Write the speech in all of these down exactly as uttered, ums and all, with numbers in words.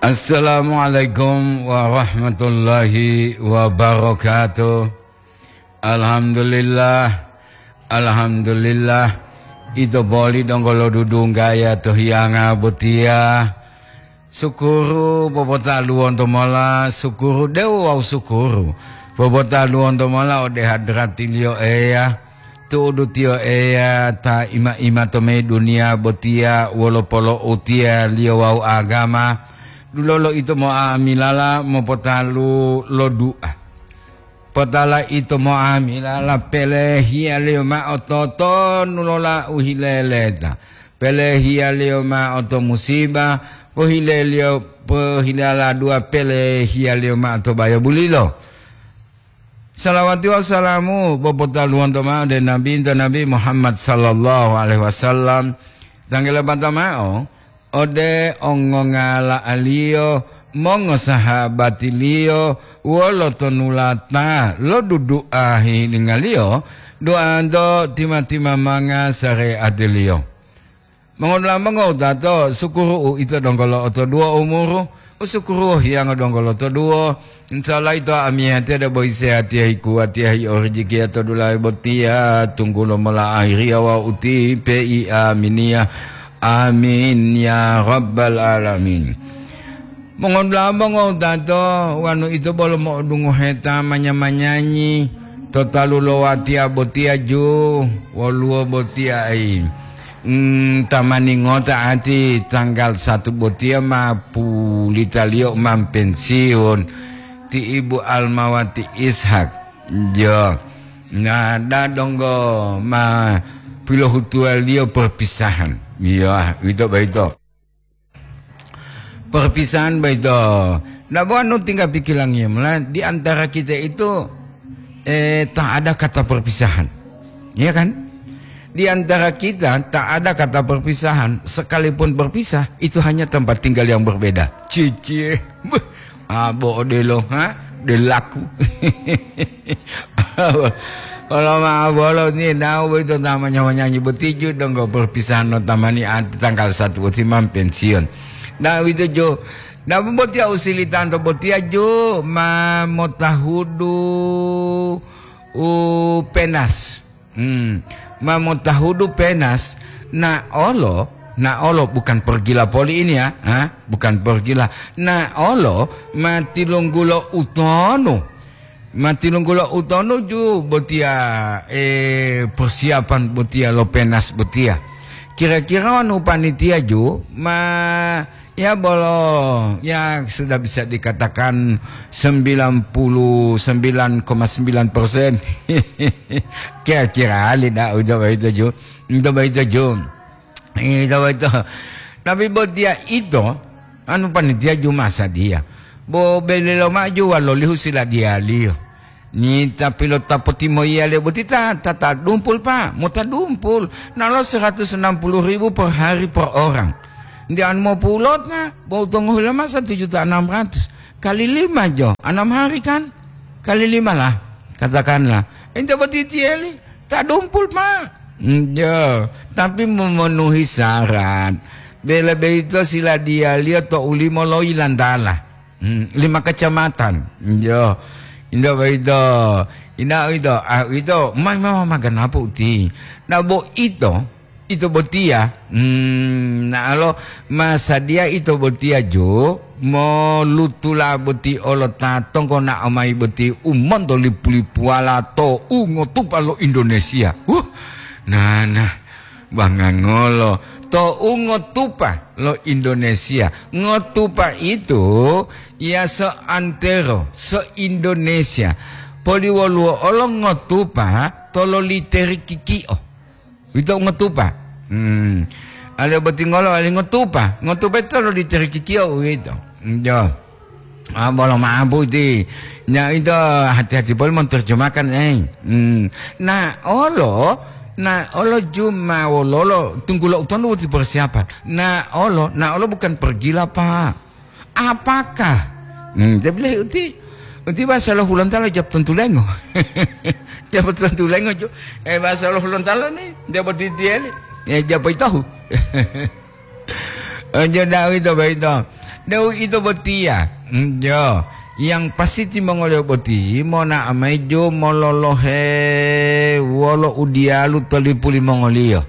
Assalamualaikum warahmatullahi wabarakatuh. Alhamdulillah, alhamdulillah. Ito boli donggo lodudunggaya to hiyanga botiya. Sukuru popotaluwonto mola, sukuru dewu wawu sukuru popotaluwonto mola ode hadratiliyo Eya. Tu'udu tiyo Eya ta ima-ima to mayi duniya botiya wolo polo'utiyaliyo wawu agama, dulolo ito mo'amilala mopotalu lo du'a. Potala ito mo'amilala pelehiyaliyo ma'o totonu lo lau hileleta, pelehiyaliyo ma'o to musiba, pohileliyo, pohilala du'a pelehiyaliyo ma'o to bayo bulilo. Salawati wawu salamu popotaluwonto ma'o ode Nabi, nto Nabi Muhammad sallallahu alaihi wasallam, tanggele bata ma'o ode ongongala'aliyo, mongosahabatiliyo, wolo tonulata lodudu'a hilingaliyo, du'anto tima-timamanga sare'atiliyo. Mongodula'a mongowutato, sukuru uito donggo lo'otoduwo umuru, usukuru hiyango donggo lotoduwo. Insya Allah ito amiyatiya debo isehatiya hikuwatiya hi'orijikiya to dulahe botiya, tunggulo mola ahiriya wawu uti pei aminiya. Amin ya rabbal alamin. Mongodula'a mongowutato, wonu ito bolo mo'odungoheta manya-manyanyi to talu lo watiya botiya ju, woluwo botiya ai. Mm, tamani ngota ati tanggal satu botiya ma pulitaliyo ma pensiun ti Ibu Almawati Ishak. Jo. Nah, dadonggo ma pilohutuwaliyo perpisahan. Iya, ito baito. Perpisahan baito. Nah, bo anu tinggal pikilangiyo mula di antara kita itu, eh, tak ada kata perpisahan. Iya kan? Di antara kita tak ada kata perpisahan. Sekalipun berpisah, itu hanya tempat tinggal yang berbeda. Cici. Beuh. Ah, bo odelo, ha? Delaku. Olo ma'o bolo ni nau boyito ta manya-manyanyi botiju donggo perpisahan lo tamani ati tanggal satu boti ma pensiun. Nah, uwito jo, nah, botiya usilitanto botiya jo ma motahudu u penas. Hmm, ma motahudu penas, na olo, na olo bukan pergila poli ini ya, ha? Bukan pergila. Na olo ma tilunggulo utonu. Ma tilunggulo utonu ju botiya, eh, persiapan botiya lo penas botiya. Kira-kira wanu panitia ju ma Ya, bolo, ya, sudah bisa dikatakan sembilan puluh sembilan koma sembilan persen. Kira-kira ali dah udah begitu ju. Itu begitu ju. Itu begitu. Tapi buat dia itu, anu panitia ju masa dia. Bo beli lo maju walolihu sila dia liyo. Ni ta pilota potimoyiyaliyo boti ta, ta, ta dumpul, Pak, mota dumpul. Nalo seratus enam puluh ribu per hari per orang. Nti anu mopulota, bo tongohula masa tujuh juta enam ratus. Kali lima jo, enam hari kan? Kali lima lah, katakanlah. Ente boti tiyeli, ta dumpul, Pak. Njo, tapi memenuhi syarat. Bela beito sila dialiyo to ulimo loyi lantala. Hmm, lima kecamatan. Yo. Inda boyito. Inda ito, ah, ito, ma, ma, ma, maganapu uti. Na bo ito, ito botiya. Hmm, na alo, masadiya ito botiya jo, molutula boti olo ta tonggo na amai boti umonto lipu-lipuwala to ungotupa lo Indonesia. Wuh, na, na. Bangangolo to ungotupa lo Indonesia. Ngotupa itu ya seantero, se-Indonesia. Poliwoluwo olo ngotupa to loliteri kikio. Wito ngotupa. Hmm. Ale botingolo ale ngotupa. Ngotupa to loliteri kikio wito. Jo. Ah, bolo ma'apu ti. Nya ito hati-hati poli monterjemahkan, eh. Hmm. Na olo, na olo juma wololo, tunggulo utonu uti persiapan. Na olo, na olo bukan pergila, Pak. Apakah? Hmm, dia bilang uti, uti bahasa lo Hulontalo jawab tentu lengo. Jawab tentu lengo, ju. Eh, bahasa lo Hulontalo ni, dia berdiri dia ni. Eh, jawab itu. Ojo dah itu, begitu. Deu ito botiya, mm, jo, yang pasti timongoliyo boti monao mayi jo mololohe wolo udiyalu to lipu limongoliyo.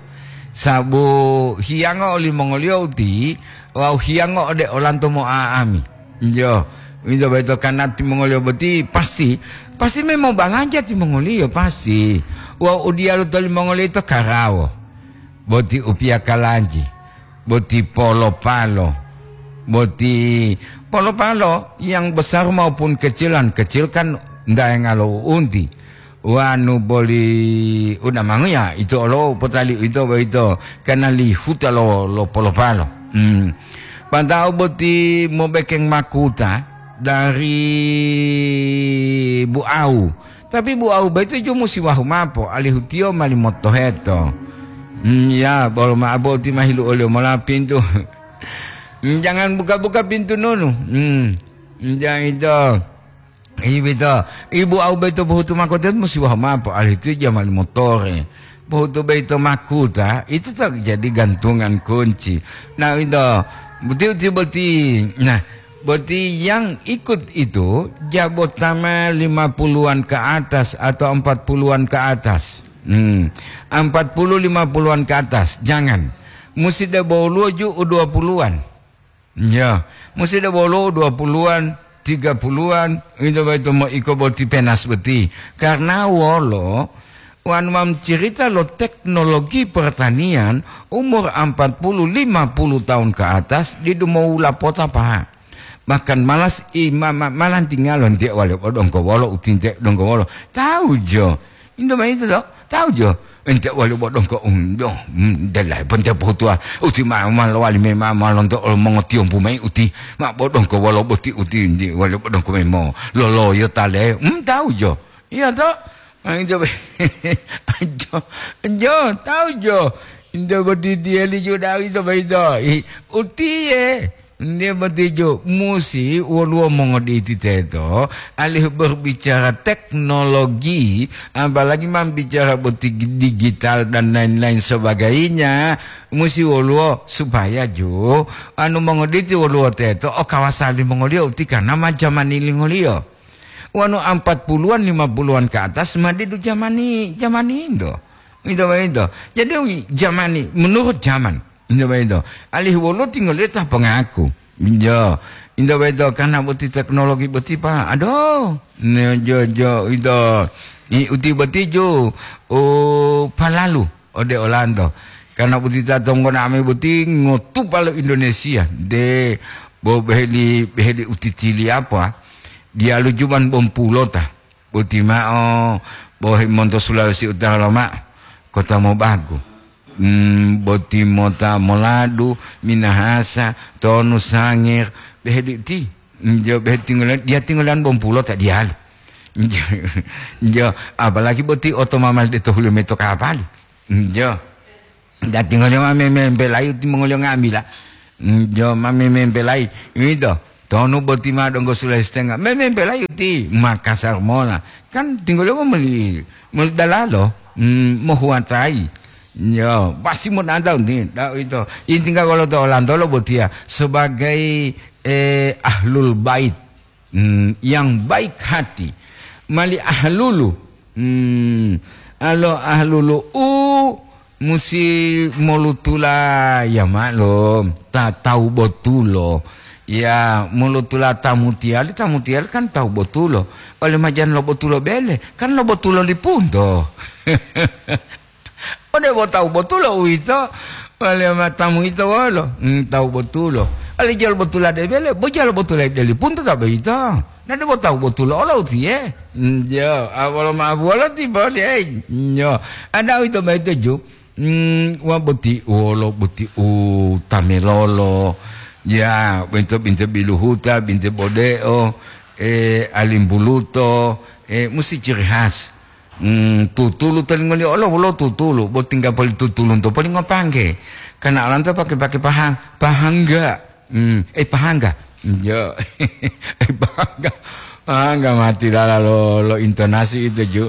Sabu hiyango olimongoliyo uti, wawu hiyango ode olanto mo'a'ami. Jo, ito boyito karna timongoliyo boti pasti, pasti me mobalanja timongoliyo, pasti. Wawu udiyalu to limongoliyo ito karawo. Boti upiya kalanji, boti polo-palo, boti polo-palo yang besar maupun kecilan, kecil kan ndaenga lo uunti. Wanu boli udamanguya, ito olo potali ito boyito, karna lihuta lo, lo polo-palo. Hmm. Pantau boti mobekeng makuta dari buau. Tapi buau boyito ju musi wahu mapo, alihu tiyo mali motoheto. Hmm, ya, bolo ma'o boti mahilu oliyo mola pintu. Hmm, jangan buka-buka pintu nonu. Hmm, hmm, jangan itu. Iwito, ibu au boyito pohutu makuta musi waho mao poalihu tiyo jamali motore. Pohutu boyito makuta, itu tak jadi gantungan kunci. Nah, itu, boti-boti boti. Nah, boti yang ikut itu jabotama lima puluhan ke atas atau empat puluhan ke atas. Hmm, empat puluh, lima puluhan ke atas, jangan. Musi debo woluwo ju u dua puluhan. Ya, musi debo woluwo dua puluhan, tiga puluhan, ito boyito moiko boti penas boti. Karna wolo, wanu ma cerita lo teknologi pertanian, umur empat puluh, lima puluh tahun ke atas, didu mowula pota, Pak. Bahkan malas i-, ma-, ma-, malantingalo nte wale bodongko wolo, utinte dongko wolo. Tahu jo. Into ma itu do? Tahu jo. Ente wali bodongko undo, mm, dela bonte pohutuwa. Uti ma, ma lowali me ma, ma lonto ol mongotiyombu mayi uti. Ma bodongko wolo boti uti, ndi wali bodongko me mo loloyo tale. Mm, tahu jo. Iya to? Ah, jo, jo, jo, tahu jo. Into boti tiyeli jo dawi to baito. I, utiye. Nde botijo, musi woluwo mongoditi teto, alihu berbicara teknologi, apalagi ma bicara boti digital dan lain-lain sebagainya, musi woluwo supaya ju, anu mongoditi woluwo teto o kawasa limongoliyo uti karna ma jamani lingoliyo. Wanu empat puluhan, lima puluhan ke atas ma didu jamani, jamani into. Into, into. Jadi, wi-, jamani, menurut zaman. Into boyito. Alihu woluwo tingoliyo ta pongaku. Jo. Into boyito, karna boti teknologi boti, Pak. Aduh. Ne, jo, jo, into. I, uti boti ju, o, palalu ode olanto. Karna boti ta tonggo nami boti ngotupa lo Indonesia. De, bo beheli, beheli uti tili apa? Diyalu juman bompulota. Boti ma'o, bohe monto Sulawesi Utara loma'o, kota mobagu. Hmm, boti mota moladu, Minahasa, tonu Sangir, behe di ti. Hmm, jo behe tinggolan, dia tinggolan bompulo ta diyalu. Jo, jo, apalagi boti oto mamal de to hulu meto kapali. Hmm, jo. Dati ngoliyo ma memempelayi uti mongoliyo nga'amila. Mm, jo ma memempelayi. Uwito, tonu boti ma donggo sulayi setenga. Memempelayi uti Makassar mola. Kan tinggoliyo moli, moli dalalo. Mm, mohuwatayi. Yo, pasti mo danta uti. Da uwito. Inti ka wolo to olantolo botiya sebagai, eh, ahlul bait. Hmm, yang baik hati, mali ahlulu. Hmm, alo ahlulu u musi molutula ya maklum, ta tawu botulo. Ya, molutula tamutiyali, tamutiyali kan tawu botulo. Oleh majan lo botulo bele, kan lo botulo lipunto. Ode bo tawu botulo uwito, wale matamu ito wolo? Hmm, tawu botulo. Ale jalo botula de bele, bo jalo botula de lipunto ta boyito. Na debo tawu botulo olo utiye. Hmm, jo, a wolo ma wolo ti boli, ei. Nyo. Ada uwito boyito ju. Hmm, wa boti wolo, boti u tamelolo. Ya, binte, binte biluhuta, binte bodeo, eh, alimbuluto, eh, musti ciri khas. Hmm, tutulu to lingoliyo olo wolo tutulu, bo tingga poli tutulunto poli ngopangge. Karena olanto pake-pake paha-, pahangga. Hmm, eh, pahangga. Jo. Eh, pahangga. Pahangga mati lala lo, lo intonasi itu, ju.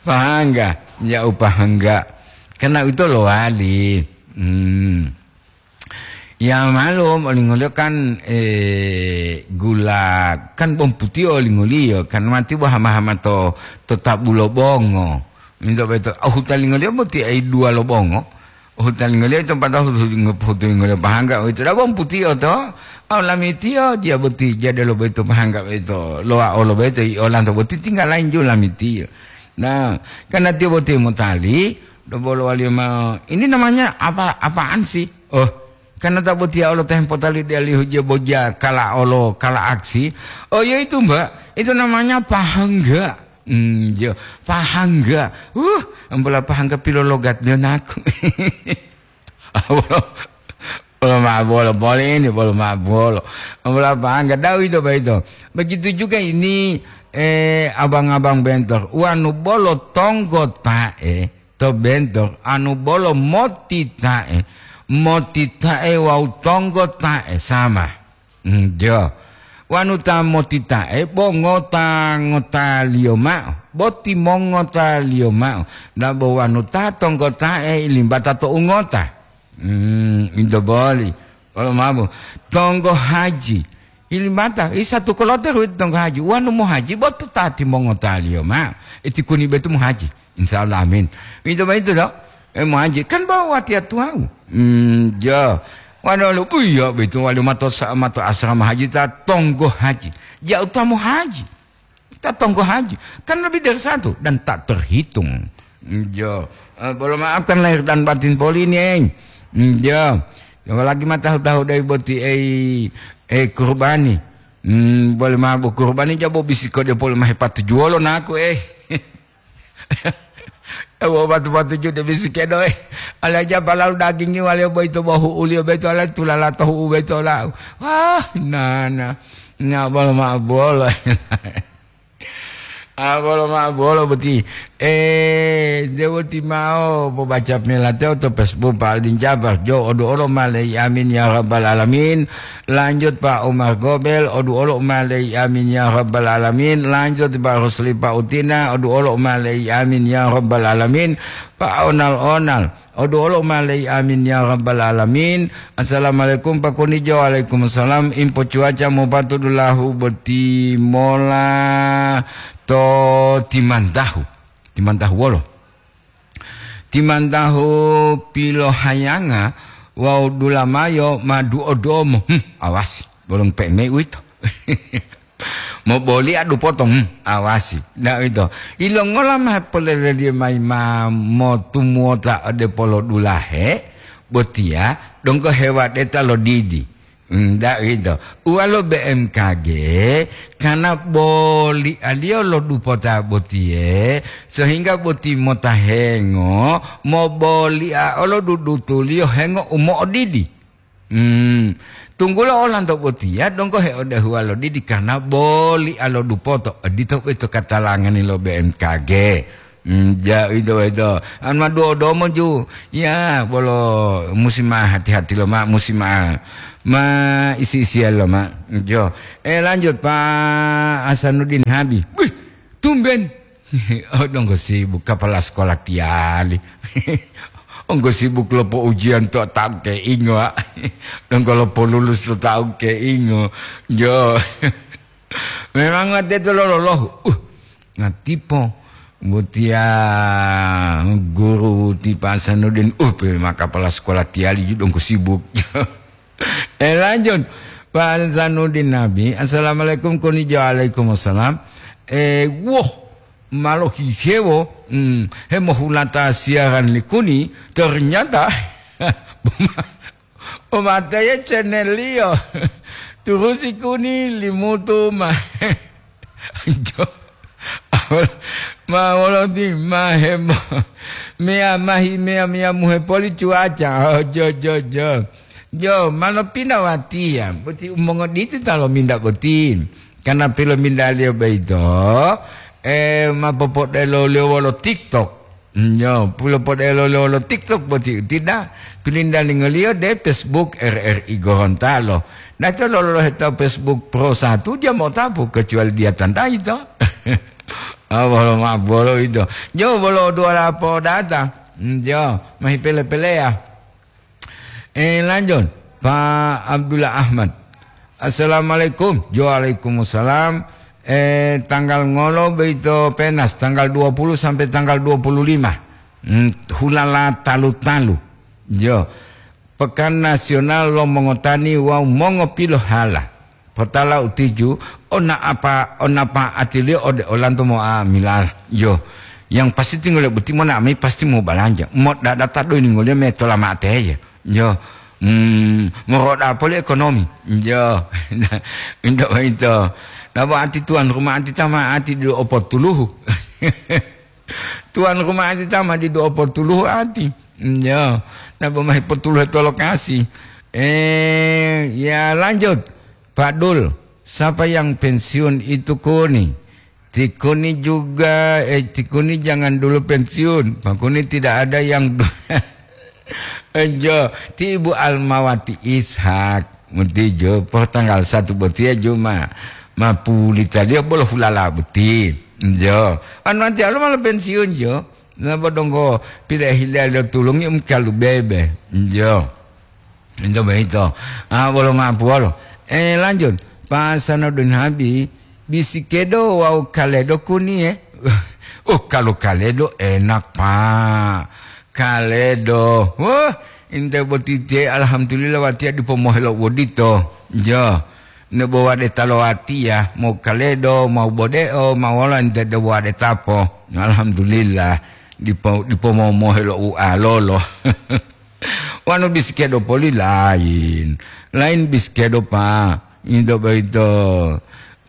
Pahangga. Ya, u pahangga. Karena itu lowali. Hmm. Ya malum, olingoliyo kan, eh, gula, kan bawang putiyo olingoliyo, kan mati bo hama-hama to, to tabu lo bongo. Minto beto, oh, hutalingoliyo boti ai dua lo bongo. Oh, hutalingoliyo ito pada hutu-, hutulingoliyo pahangga, oh, ito da bawang putiyo to. Oh, lamitiyo dia boti jade lo beto pahangga beto. Loa olo beto, i olanto boti tinggal lain ju lamitiyo. Nah, karena tiyo boti motali, dobolo waliyo ma, ini namanya apa, apaan sih? Oh, karena tak botiya olo tempo tali dialihu je boja kala olo, kala aksi. Oh, ya itu, Mbak. Itu namanya pahangga. Hmm, ya, pahangga. Uh, ambola pahangga pilologat dia naku. Bolo, bolo ma bolo, bolo ini, bolo ma bolo. Ambola pahangga, dau itu, Pak, itu. Begitu juga ini, eh, abang-abang bentor. Wanu bolo tonggo tae. To bentor, anu bolo motita'e, motita'e wawu tonggota'e sama. Njo. Wanu ta motita'e bo ngota-ngotaliyo ma'o, bo timongotaliyo ma'o, dabo wanu ta tonggota'e ilimbata to ungota. Hmm, into boli. Wolo mabu. Tonggo haji. Ilimbata, i satu kloter wito tonggo haji. Wanu mohaji, bo to ta timongotaliyo ma'o. Iti kuni betu mohaji. Insya Allah, amin. Itu begitu, dok. Eh, mau haji. Kan bawa watiya tuwau. Hmm, jo. Wano lu, iya, begitu. Wali mato sa-, mato asrama haji, ta tonggo haji. Jauh tamu haji. Ta tonggo haji. Kan lebih dari satu. Dan tak terhitung. Hmm, jo. Eh, boleh maafkan lahir dan batin poli ini, eh. Hmm, jo. Apalagi ma tahu-tahu dari boti, eh, eh, kurbani. Hmm, boleh ma bo kurbani jabo bisiko dia boleh ma hepatujuwolo naku, eh. Ewo batu-batu jude bisi kedo, eh. Ala japa lalu dagingi wale boyito bo hu'uliyo beto ala tulala to hu'u beto lau. Wah, nana. Nya bolo ma bolo. Ah, bolo ma bolo boti. Eh, dewo timao pobaca melateo to Facebook Pak Aldin Jabar. Jo odu olo malei amin ya rabbal alamin. Lanjut Pak Umar Gobel, odu olo malei amin ya rabbal alamin. Lanjut Pak Rusli Pak Utina, odu olo malei amin ya rabbal alamin. Pak Onal-onal, odu olo malei amin ya rabbal alamin. Assalamualaikum Pak Kunijo, waalaikumsalam. Impo cuaca mopatudulahu boti mola to Timantahu. Timantahu wolo. Timantahu pilohayanga wawu dulamayo ma duo-duomo. Hmm, awasi, bolong peme uwito. Moboli adu potong, hmm, awasi. Nah, uwito. Ilongola ma poleleliyo mayi ma motumuwota ode polodulahe, botiya donggo hewadeta lo didi. Ndak gitu. Uwalo B M K G, karena bolialiyo lo dupota botiye, sehingga boti motahengo, mobolia olo dudutuliyo hengo u mo'odidi. Hmm. Tunggulo olanto botiya donggo heodehuwa lo didi karena bolia lo dupoto. Odito uwito katalangani lo B M K G. Hmm, ja, ito, ito. Anu ma duo domo ju. Ya, bolo musi ma hati-hati lo ma, musi ma, ma isi-isian lo ma. Jo. Eh, lanjut, Pak Hasanuddin Habi. Wih, tumben. Oh, donggo sibuk kepala sekolah tiali. Onggo sibuk lopo ujian to tahu ke ingo, ah. Donggo lopo lulus to tahu ke ingo. Jo. Memang teto lolohu. Uh, ngatipo. Butiya guru ti Pak Hasanuddin, uh, pe ma kepala sekolah tiali ju donggo sibuk. Eh, lanjut. Pak Hasanuddin Nabi, "Assalamualaikum, konijo." "Waalaikumsalam." Eh, woh, malo hihewo, hmm, hemohulata siaran likuni, ternyata Umateye channel-liyo. Turusi kuni limutu ma. Jo. Ma wolo ti ma hebo. Mea mahi mea mea muhe poli cuaca. Oh, jo, jo, jo. Jo, malo pina watiya. Boti umongoditi ta lominta boti. Karena pilomintaliyo boyito, eh, ma popodelo-liyo wolo TikTok. Nyo, pulo podelo lo, lo TikTok boti tidak. Pilindalingo-Liyo de Facebook R R I Gorontalo. Nato lolohe to Facebook Pro Satu, dia mau tapu, kecuali dia tantai to. Ah, bolo ma bolo itu. Nyo, bolo dua lapo data. Nyo, mahi pele-pele ya. Eh, lanjut. Pak Abdullah Ahmad. Assalamualaikum. Waalaikumsalam. Eh, tanggal ngolo boyito penas, tanggal dua puluh sampai tanggal dua puluh lima. Hmm, hulala talu-talu. Yo. Pekan Nasional lo Mongotani wawu Mongopilohala. Potala utiju, ona apa, ona apa atiliyo ode olanto mo'amila. Yo. Yang pasti tinggal boti mona ami pasti mau balanja. Mo dadata do ini ngoliyo me tola mate ya. Yo. Hmm, moroda poli ekonomi. Yo. Into, into. Nabo ati tuan rumah ati tama ati do opotuluhu. Tuan rumah ati tama di do opotuluhu ati. Yo. Nabo mahi potuluhu to lokasi. Eh, ya lanjut. Pak Dul, siapa yang pensiun itu Kuni? Ti Kuni juga, eh, Ti Kuni jangan dulu pensiun. Pak Kuni tidak ada yang Enjo, ti Ibu Almawati Ishak, muti jo, po tanggal satu botiya jo ma, ma pulitaliyo bolo hulala boti. Enjo, anu nanti alo malah pensiun jo. Na bodonggo pile hilaliyo tulungi um kalu bebe. Enjo. Enjo beito. Ah, bolo mapu walo. Eh, lanjut. Pak Sanudin Habib, Bisikedo wawu Kaledo Kuni, eh. Oh, kalau Kaledo enak, Pak. Kaledo. Wah, inte boti tie, alhamdulillah, watiya dipo mohelo wodito. Jo. Ne bo wade talo watiya, mau Kaledo, mau bodeo, mau wala inte de wade tapo. Alhamdulillah. Dipo, dipo mau mohelo u alolo. Wanu bisikedo poli lain. Lain bisikedo, Pak. Into boyito,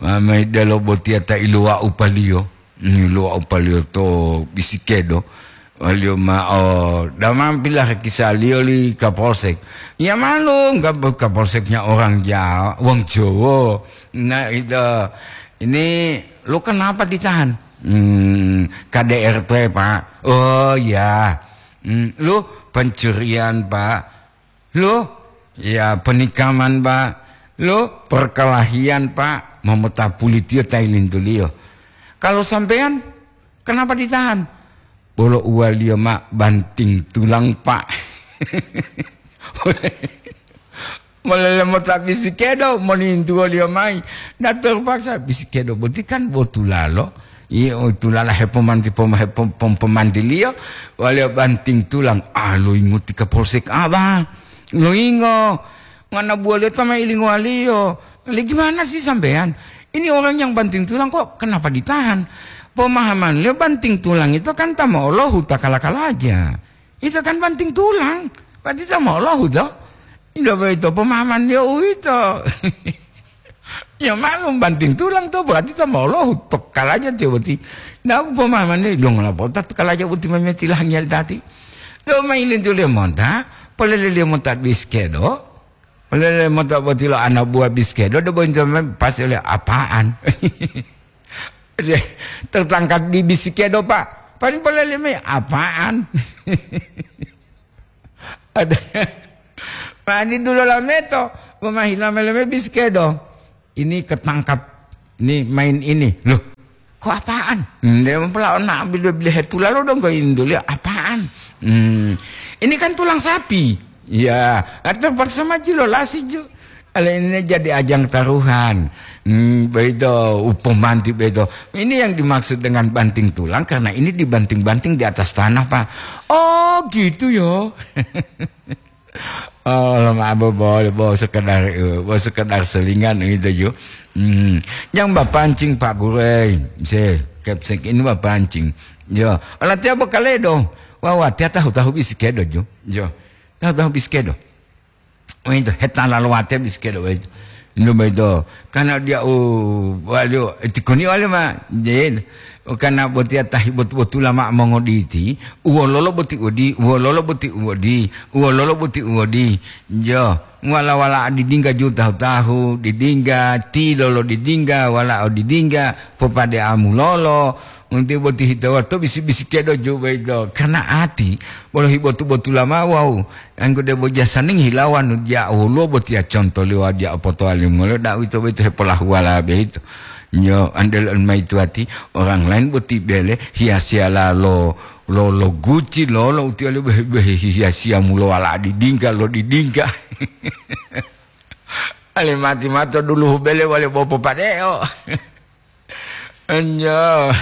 ma-, mayi delo botiya ta iluwa'u paliyo. Iluwa'u paliyo to bisikedo. Waliyo ma'o, damam pilarakisaliyo li Kapolsek. Ya malum, Kap-, Kapolseknya orang Jawa, wong Jowo. Nah, itu, ini lu kenapa ditahan? Hmm, K D R T, Pak. Oh, ya. Hmm, lu pencurian, Pak. Loh, ya penikaman, Pak. Loh, perkelahian, Pak. Mamota pulitiyo ta ilintuliyo. Kalau sampeyan, kenapa ditahan? Bolo uwaliyo ma banting tulang, Pak. Molele mota bisikedo, molintuwoliyo mayi. Na terpaksa bisikedo boti kan bo tulalo. Iyo, tulala hepomanti-, poma-, hepom-, pom-, pomantiliyo, waliyo banting tulang. Ah, loyingo ti Kapolsek Aba. Loyingo. Ngana buwaliyo ta ma ilingowaliyo. Le, gimana sih sampeyan? Ini orang yang banting tulang kok kenapa ditahan? Pemahamanliyo banting tulang itu kan ta mo'olahu ta kala-kalaja. Itu kan banting tulang. Berarti ta mo'olahu to? Ilo boyito pemahamanliyo uwito. Ya malum banting tulang to, berarti ta mo'olahu, to kalaja tiyo boti. Nah, umpamanya, dong, lapota to kalaja boti mameti lahangiyali tati. Do mailintulio monta, polelelio monta biskedo, polelelio monta boti lo ana buah biskedo, do bonto mem-, pas oleh apaan? Tertangkap di biskedo, Pak. Paling poleleme apaan? Ada. Mani dulo lameto, memahila meleme biskedo. Ini ketangkap, ini main ini. Loh, kok apaan? Nde mempela ona bile-bile hetula lo dong kok induli apaan? Hmm, ini kan tulang sapi. Ya, terpaksa maju lo lasi ju. Ale ini jadi ajang taruhan. Hmm, begitu, upomanti begitu. Ini yang dimaksud dengan banting tulang karena ini dibanting-banting di atas tanah, Pak. Oh, gitu yo. Oh, lo mabo boleh, bo sekedar, eh, bo sekedar selingan gitu yo. Hmm, yang bapancing Pak Gurei, se, kepsek ini bapancing. Yo, latihan bekale dong. Wah, wah, tiap tahu-tahu bisikedo jo. Yo, tahu-tahu bisikedo. Wento, hetala lo wate bisikedo wento. Ndo boyito, karena dia, oh, waliyo, eh, tikoni waliyo ma, jen. Karena botiya tahi bot-, botula ma mongoditi, uwololo boti udi, uwololo boti udi, uwololo boti udi. Jo, wala-wala didingga ju tahu-tahu, didingga, tilolo didingga, wala o didingga, popade amulolo, unti boti hito wato bisi-bisikedo ju boyito. Karena ati, bolo hibotu-botula ma wawu, Anggo debo jasaning hilawa nu dia woluwo botiya conto liwa dia opotowali molo da uwito boyito hepolahuwala boyito. Nyo, andel on mayi tuwati, orang lain boti bele hiyasiyala lo Lo, lo guci lolo utiya le behe-behe hiya siyamu lo wala didingga, lo didingga. Ale mati mato duluhu bele wale bopo padeo. Enjo.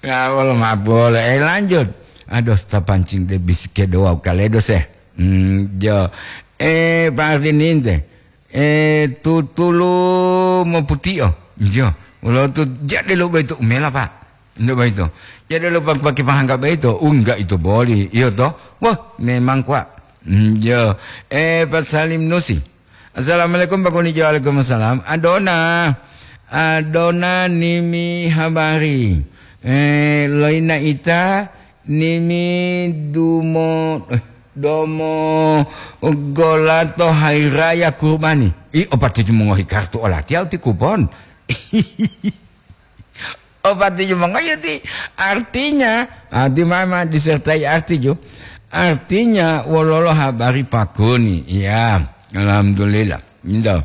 Ya, wolo mabolo. Eh, lanjut. Aduh, ta pancing de bisike doa kaledo se. Hmm, jo. Eh, Pak Ardininte. Eh, tutulu moputio. Jo. Wolo tu jade lo beto umela, Pak. Ndak begitu. Jadi lupa pakai pahangga begitu. Oh, enggak itu boleh. Iya toh. Wah, memang kuat. Hmm, iya. Eh, Pak Salim Nusi. Assalamualaikum, Pak Kuni. Waalaikumsalam. Adona. Adona nimi habari. Eh, loina ita nimi dumo, eh, domo golato hari raya kurbani. Ih, opati mongohi kartu olatiya uti kupon. Opati mongohi uti. Artinya, ah, di mama disertai arti ju. Artinya, wololo habari Pak Kuni. Iya, alhamdulillah. Gitu.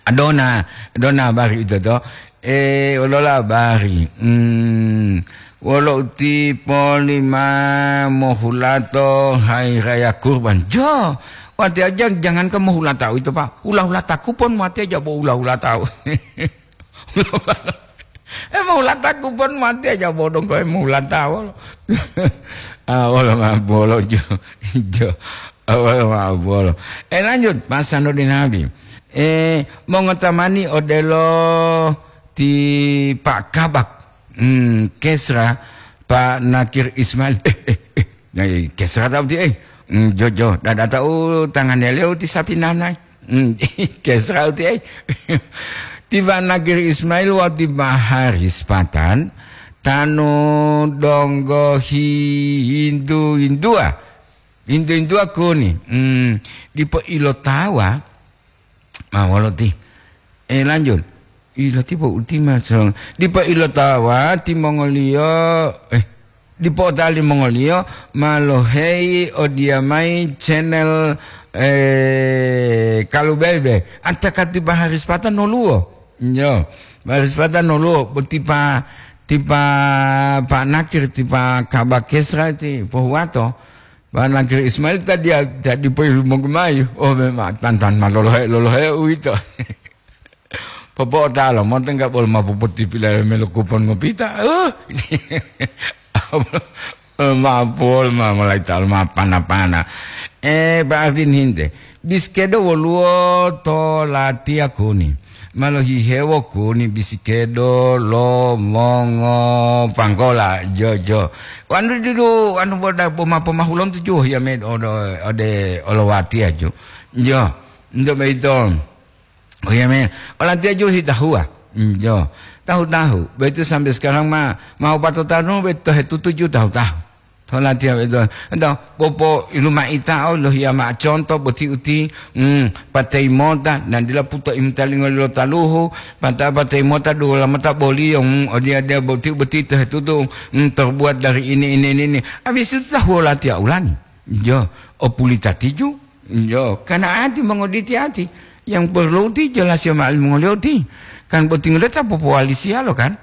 Adona, adona habari itu to. Eh, wolola habari. Hmm, wolo uti polima mohulato hari raya kurban. Jo, wati aja jangankan mohulata itu, Pak. Hula-hulata kupon wati aja bo hula-hulata. Eh, mohulata kupon wati aja bodong ko mohulata wolo. Ah, wolo ma bolo jo. Jo. Ah, wolo ma bolo. Eh, lanjut, Pak Sanudin Habib. Eh, mongotamani odelo ti Pak Kabak, hmm, Kesra, Pak Nakir Ismail. Eh, eh, eh. Nah, Kesra tahu ti, eh. Hmm, jo, jo. Dada tahu tangan leo ti sapi nanai. Hmm, Kesra ti, eh. Ti Pak Nakir Ismail wa ti Pak Haris Patan, tanu donggo hindu-hindua. Hindu-hindua kuni. Hmm, dipo ilotawa, ma wolo ti. Eh, lanjut. Ila tibo ultima so. Dipo ilotawa timongoliyo, eh, dipo otali mongoliyo ma loheyi odiyamayi channel, eh, Kalubebe. Anta kati Pak Haris Patan noluwo. Yo, Pak Haris Patan noluwo. Bo tipa, tipa Pak Nakir, tipa Kabak Kesra ti pohuwato. Pak Nakir Ismail tadi, tadi poilumonggu mayi. Oh, memang tantan ma lolohe, lolohe uwito. Popo'otalo, monto enggak bolo ma popotipila melo kupon ngopita. Uh. Ma pol ma mulai tal ma pana-pana. Eh, Pak Ardin hinte. Biskedo woluwo to latiya kuni. Ma lohihewo kuni bisikedo lo mongo panggola, jo, jo. Wanu didu, wanu boda poma-, pomahulom tuju hiya med ode, ode olowatiya ju. Jo, nto beito. Oh, iya, men. Olatiya ju hitahuwa. Hmm, jo. Tahu-tahu. Begitu sampai sekarang ma, mau patotanu, begitu hetutu ju tahu-tahu. To latiya begitu. Ento, popo iluma ita, oh, lohiya ma conto, boti uti, hmm, patei mota, dan dila puto imtalingo lo taluhu, pata patei mota, dua mata boliyo, hmm, odia dia boti, boti to hetutu, hmm, terbuat dari ini, ini, ini, ini. Habis itu tahu latiya ulangi. Jo, opulita tiju. Jo, karena ati mongoditi ati. Yang perlu ti jelas ya ma'al mongoliyo ti. Kan boti ngoleta popowali siyalo kan.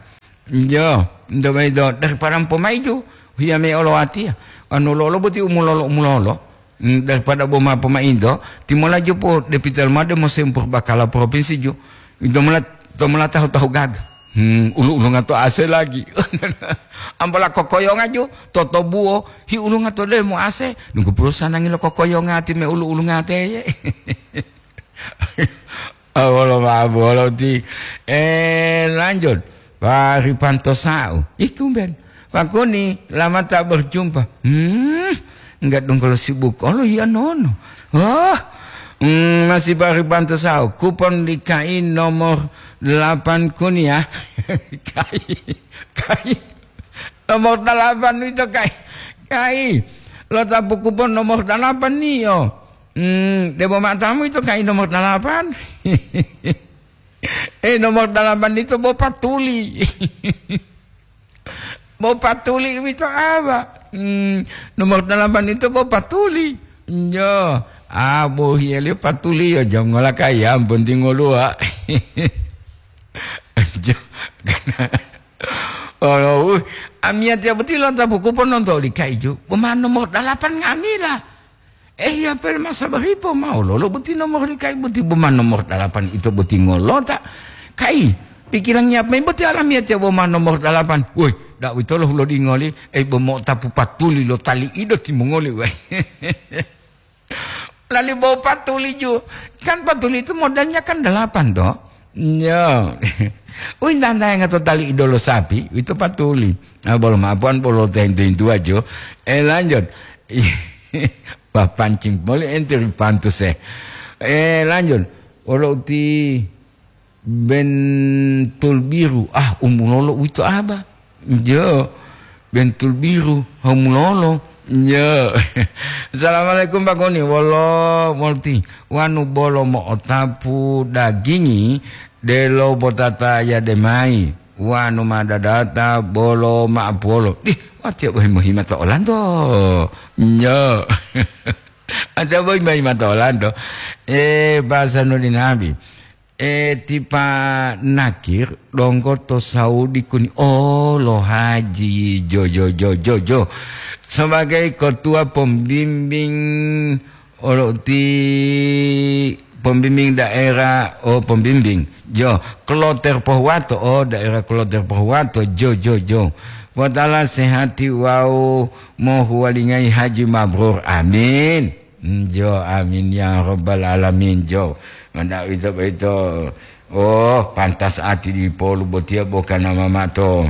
Jo, ndo maido daripada pomaiju. Hiya me olo atiya. Anu lolo boti umulolo, umulolo. Mm, daripada boma pomaido, timola jopo depital made mo sempur bakala provinsi ju. Ito mula, to mula tahu-tahu gaga. Hmm, ulu-ulunga to ase lagi. Ambola kokoyonga ju, toto buo, hi ulunga to demo ase. Nunggu perusahaan nangilo kokoyonga ti me ulu-ulunga te. Awolo ma bolo ti. Eh, lanjut. Pak Ripanto Sau. Ih, tumben. Pak Kuni, lama tak berjumpa. Hmm, enggak dong kalau sibuk. Kalau iya nono. Oh, hmm, masih Pak Ripanto Sau. Kupon di K I nomor delapan Kuni ya. K I, K I. Nomor delapan itu K I. K I. Lo tapu kupon nomor delapan nih yo. Hmm, debo matamu itu K I nomor delapan. Eh, nomor dalapan ito bo patuli. Bo patuli wito awa. Hmm, nomor dalapan ito bo patuli. Njo. Ah, bo hiya liyo patuli yo jam ngola kaya, penting ngoluwa. Jo, karena Olo, uh, amiyatiya boti lontapu kupon lonto oli kaijo, boma nomor dalapan nga'amila. Eh, iya pel masa baripo mao lolo boti nomor li kai boti boma nomor dalapan ito boti ngolota. Kai, pikirangiya mayi boti alamiyatiya boma nomor dalapan. Woi, dak witolo hulodingoli, eh, bomo tapu patuli lo tali ido timongoli, woi. Lali bau patuli ju. Kan patuli itu modalnya kan dalapan, toh? Yo. Uwintang-tayanga to tali idolo sapi, itu patuli. Ah, bolo mapuan, bolo tento-tentuwa jo. Eh, lanjut. Wah, pancing boli ente ri pantus, eh. Eh, lanjut. Olo uti Bentul biru, ah, umulolo uwito aba. Jo, bentul biru, umulolo. Jo. Assalamualaikum, Pak Koni. Wolo, molti. Wanu bolo mo'otapu dagingi, delo botata yade mayi. Wanu ma dadata bolo ma'apuwolo. Dih, watiya bohi mohima to Olando. Jo. Watiya bohi mohima to Olando. Eh, bahasa nuli nabi. Eh, ti Pa Nakir donggo to Saudi kuni, oh, lo haji, jo, jo, jo, jo, jo. Sebagai ketua pembimbing, olo ti pembimbing daerah, oh, pembimbing, jo, Kloter Pohuwato, oh, daerah Kloter Pohuwato, jo, jo, jo. Potala sehati wawu mohuwalingayi haji mabrur. Amin. Jo, amin ya rabbal alamin, jo. Mada ito boyito, oh, pantas ati dipolu botiya bo kana mama to,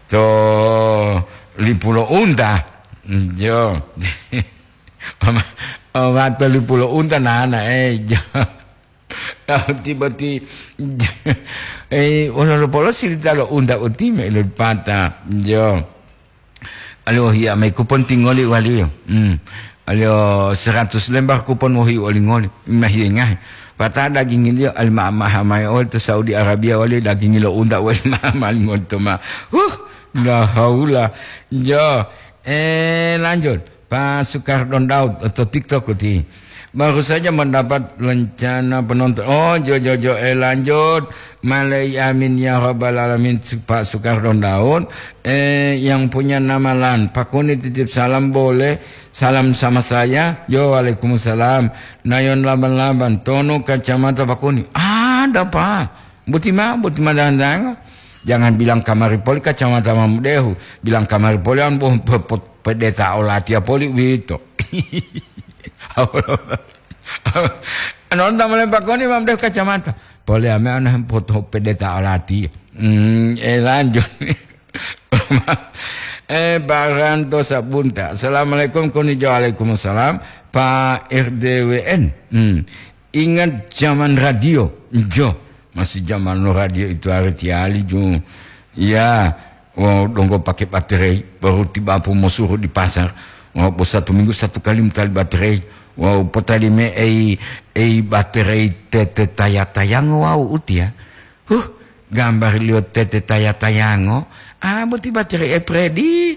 to lipu lo unta. Jo. Mama, mama to lipu lo unta nana, eh, jo. Tau ti boti, eh, wolo lo polo sirita lo unta uti me lo pata, jo. Aliyo hiya mayi kupon tingoli waliyo. Hmm. Aliyo seratus lembar kupon wohi olingoli. Mahiye ngahe. Pata dagingiliyo ali ma-, maha mayi oli to Saudi Arabia wali dagingi lo unta wali maha mayi ngoli to ma. Huh, la haula. Jo, eh, lanjut. Pak Sukardon Daud atau TikTok uti. Baru saja mendapat rencana penonton. Oh, jo, jo, jo, eh, lanjut. Malai amin ya rabbal alamin, Su-, Pak Sukardon Daud. Eh, yang punya nama Lan, Pak Kuni titip salam boleh? Salam sama saya. Yo, waalaikumsalam. Nayon Laban-Laban, Tono Kacamata Pak Kuni. Ada, Pak. Buti ma, buti ma dandango. Jangan bilang kamari poli Kacamata Mamudehu. Bilang kamari poli an boh pe-, pe-, pedeta olatiya poli wito. Nonton mulai Pak Kuni Mamudehu Kacamata. Poli ame ana poto pedeta olatiya. Hmm, eh, lanjut. Eh, Baranto Sabunta. Assalamualaikum, Kuni Jo. Waalaikumsalam. Pak R D W N. Hmm. Ingat zaman radio. Jo. Masih zaman lo radio itu hari tiali, Jo. Ya. Oh, donggo pakai baterai. Baru tiba apa mau suruh di pasar. Oh, bos satu minggu satu kali mencari baterai. Wow, potali me ei, ei baterai tete taya-tayango, wow, utia. Huh, gambar liyo tete taya-tayango. Ah, boti baterai e Predi.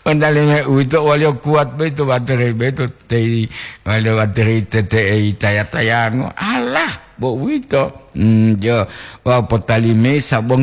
Wandale me uwito waliyo kuat beto baterai beto tei waliyo baterai tete ei taya-tayango. Alah, bo uwito. Hmm, jo, wa potali me sabongi